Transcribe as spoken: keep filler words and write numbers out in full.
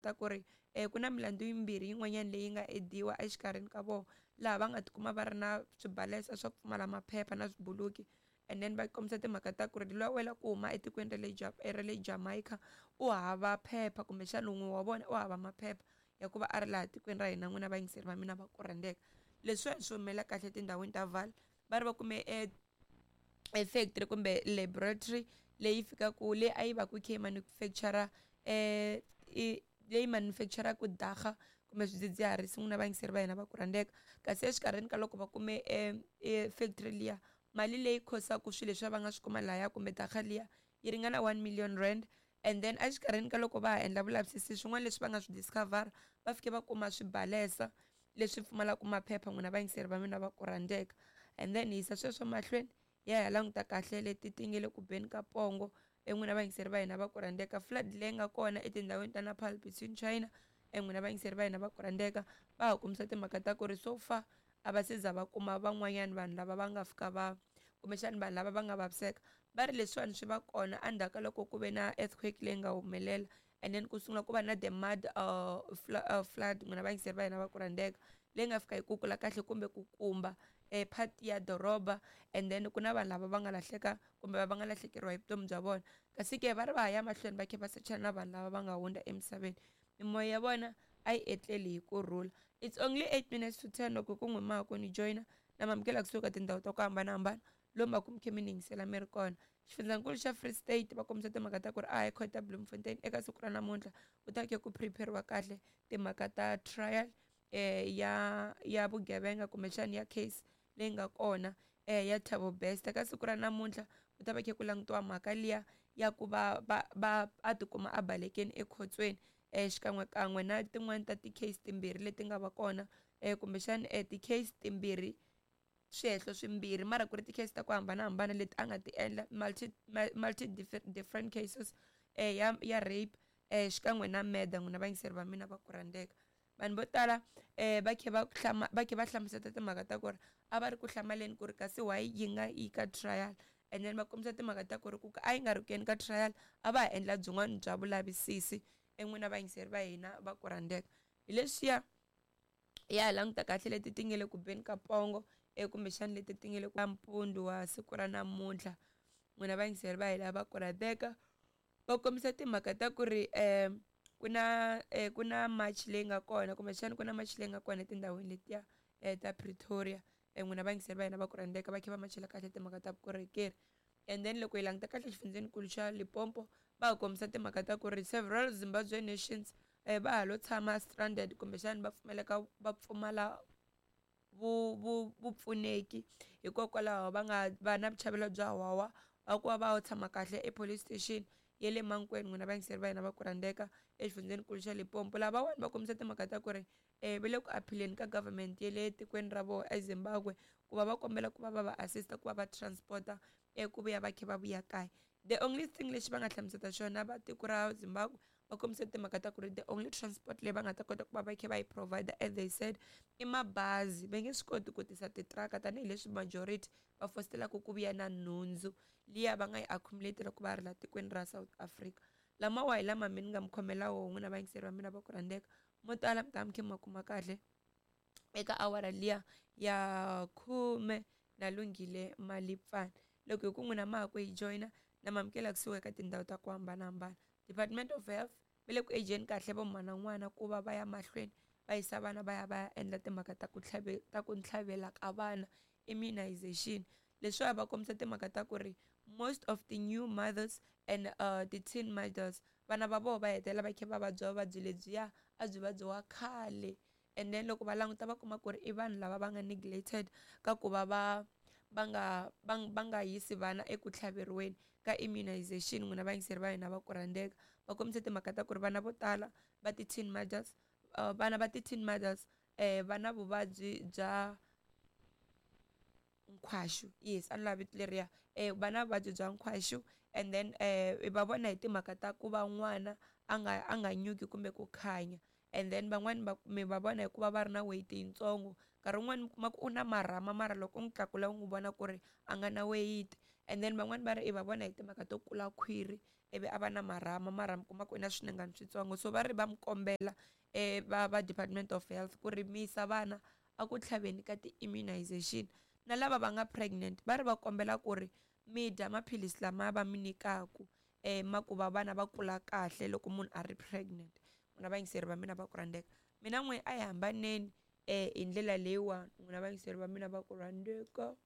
Ta ku ri ku na milandzu yimbirhi yin'wanyana leyi nga ediwa exikarhini ka vona laha va nga tikuma va ri na swibalesa swa ku pfumala maphepha na swibuluki. And then va kombisa timhaka ta ku ri luya wela ku huma etikweni ra le ra le Jamaica u hava phepha, kumbexana wun'we wa vona u hava maphepha ya ku va a ri laha tikweni ra hina. N'wina vayingiseri va mina va ku rhandzeka, leswiwani swi humelela kahle etindhawini ta Vaal. Va ri va kume e e factory kumbe laboratory leyi fikaka leyi a yi va ku yi kha yi manufacture eh leyi manufacturaka dagga kumbe swidzidziharisi. N'wina vayingiseri va hina va ku rhandzeka, kasi exikarhini ka loko va kume e e factory liya, mali leyi khosaka swilo leswiya va nga swi kuma lahaya kumbe dagga liya yi ringana one million rand. And then exikarhini ka loko va ha endla vulavisisi swin'wana leswi va nga swi discover, va fike va kuma swibalesa leswi pfumalaka maphepha. N'wina vayingiseri va mina va ku rhandzeka, and then hi yisa sweswo mahlweni ya ya languta kahle leti ti nge le ku beni ka pongo. N'wina vayingiseri va hina va ku rhandzeka, flood leyi nga kona etindhawini ta Nepal between China. N'wina vayingiseri va hina va ku rhandzeka, va ha kombisa timhaka ta ku ri so far a va se za va kuma van'wanyana vanhu lava va nga fika va kumbexana vanhu lava va nga vaviseka. Va ri leswiwani swi va kona endzhaku ka loko ku ve na earthquake leyi nga humelela, and then ku sungula ku va na the mud uh, uh, flood. N'wina vayingiseri va hina va ku rhandzeka, leyi nga fika yi kukula kahle kumbe ku kumba e part ya doroba, and then ku na vanhu lava va nga lahleka kumbe va nga lahlekeriwa hi vutomi bya vona. Kasi ke va ri va ha ya mahlweni va kha va sechana na vanhu lava va nga hundza emisaveni, mimoya ya vona a yi etleli hi kurhula. It's only eight minutes to ten loko ku n'wi ma ku ni joyina na mamukela kusuka tindhawu ta ku hambanahambana lomu va ku mi khe mi ni yingisela mi ri kona. Xifundzankulu xa Free State va kombisa timhaka ta ku ri a High Court ya Bloemfontein eka siku ra namuntlha ku ta ke ku prepare-iwa kahle timhaka ta trial eh ya ya vugevenga kumbexana ya case leyi nga kona eh ya Thabo Bester. Ka siku ra namuntlha ku ta va khe ku langutiwa mhaka liya ya ku va va va a tikuma a balekeni ekhotsweni eh xikan'wekan'we na tin'wani ta ti-case timbirhi leti nga va kona eh kumbexana eh ti-case timbirhi swihehlo swimbirhi mara ku ri ti-case ta ku hambanahambana leti a nga ti endla multi multi different cases eh ya ya rape eh xikan'we na murder. N'wina vayingiseri va mina va ku rhandzeka, vanhu vo tala eh va khe va hlama va khe va hlamusela timhaka ta ku ri a va ri ku hlamaleni ku ri kasi why yi nga yi ka trial, and then va kombisa timhaka ta ku ri ku a yi nga ri ku yeni ka trial a va ha endla byin'wana bya vulavisisi. N'wina vayingiseri va hina va ku rhandzeka, hi leswiya ya languta kahle leti ti nge le ku beni ka pongo e kumbexana leti ti nge le ku mpundzu wa siku ra namuntlha. N'wina vayingiseri va hina va ku rhandzeka, va kombisa timhaka ta ku ri um ku na ku na march leyi nga kona kumbexana ku na march leyi nga kona etindhawini letiya ta Pretoria. N'wina vayingiseri va hina va ku rhandzeka, va kha va machela kahle timhaka ta vukorhokeri. And then loko hi languta kahle xifundzhenikulu xa Limpopo va ha kombisa timhaka ta ku ri several Zimbabwe nations eh va ha lo tshama stranded kumbexana va pfumeleka va pfumala vu vu vupfuneki hikokwalaho va nga va na vuchavelo bya wawa va ku va va tshama kahle e police station ya le Mankweng. N'wina vayingiseri va hina va ku rhandzeka exifundzhenikulu xa Limpopo, lavawani va kombisa timhaka ta ku ri eh va le ku appeal-eni ka government ya le tikweni ra vona eZimbabwe ku va va kombela ku va va va assist ku va va transporta ku vuya va kha va vuya kaya. The only thing lexi va nga hlamusela xona va tiko ra Zimbabwe va kombisa timhaka ta ku ri the only transport leyi va nga ta kota ku va va kha va yi provide as they said i mabazi, va nge swi koti ku tisa titiraka tanihileswi majority va fositelaka ku vuya na nhundzu liya va nga yi accumulate loko va ri la tikweni ra South Africa. Lamawa hi lama mi ni nga mi khomela wona n'wina vayingiseri va mina va ku rhandzeka, mo tala mi ta mi kha mi ma kuma kahle eka awara liya ya khume na Lunghile Malipfana. Loko hi ku n'wina ma ha ku hi joyina na mamukela kusuka eka tindhawu ta ku hambanahambana. Department of Health va le ku ejeni kahle vo mhana n'wana ku va va ya mahlweni va yisa vana va ya va ya endla timhaka ta ku tlhave ta ku ntlhavela ka vana immunization. Leswiwa va kombisa timhaka ta ku ri most of the new mothers and uh, the teen mothers vana va vona va hetelela va kha va vabya vuvabyi lebyiya a byi vabyiwa khale. And then loko va languta va kuma ku ri i vanhu lava va nga neglected ka ku va va va nga va va nga yisi vana eku tlhaveriweni ka immunization. N'wina vayingiseri va hina va ku rhandzeka, va kombisa timhaka ta ku ri vana vo tala va ti-teen mothers uh, vana va ti-teen mothers eh va na vuvabyi bya nkhwaxu, yes a ni lavi vito leriya eh va na vuvabyi bya nkhwaxu. And then eh va vona hi timhaka ta ku va n'wana a nga a nga nyuki kumbe ku khanya. And then van'wani va mi va vona hikuva va ri na weight yitsongo, nkarhi wun'wani mi kuma ku u na marhama mara loko u n'wi tlakula u n'wi vona ku ri a nga na weight. And then van'wani va ri i va vona hi timhaka to kula khwiri ivi a va na marhama marhama kuma ku i na swinengani switsongo so va ri va mi kombela um va va department of health ku ri mi yisa vana a ku tlhaveni ka ti-immunization na lava va nga pregnant va ri va kombela ku ri mi dya maphilisi lama va mi nyikaku um ma ku va vana va kula kahle loko munhu a ri pregnant n'wina vayingiseri va mina va ku rhandzeka mina n'we a hi hambaneni um hi ndlela leyiwani n'wina vayingiseri va mina va ku rhandzeka.